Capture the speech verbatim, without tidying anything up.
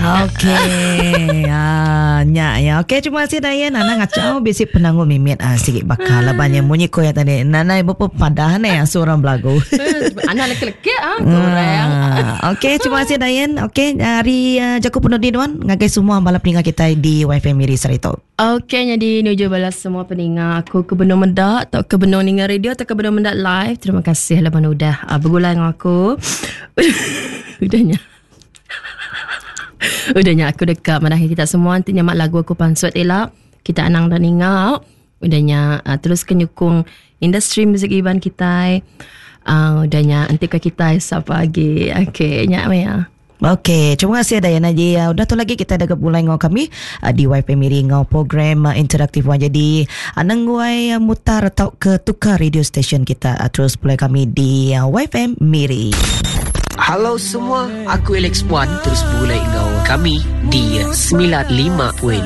Okey. Ah, nya ya. Okey, terima kasih Dayan. Nana ngacau bisi penangu mimit ah sigi bakal laban yang munyi ko ya tadi. Nana ibu padah ne seorang belagu. Anak leki-leki ah kurang. Ah, okey, terima kasih Dayan. Okey, hari uh, jaku penuh di nuan ngagai semua bala peninga kita di Y F M Miri Sarito. Okey, jadi nuju balas semua peninga aku ke benung mendak atau ke benung ninga radio atau ke benung mendak live. Terima kasih lah udah uh, bergulai dengan aku. Udahnya. Udahnya aku dekat manahi kita semua nanti nyamak lagu aku pansut elak. Kita anang dan ingat. Udahnya uh, terus kenyukung industri muzik Iban kita. Uh, udahnya nanti ke kita siapa lagi. Okey, nyak ya. Okey, terima kasih Dayana Ji. Uh, udah tu lagi kita ada kepulai ngau kami uh, di Y F M Miri ngau program uh, interaktif wan. Jadi uh, nengguai uh, mutar atau ke tukar radio station kita uh, terus pulai kami di uh, Y F M Miri. Halo semua, aku Alex Wan terus bergulai dengan kami di sembilan puluh lima perpuluhan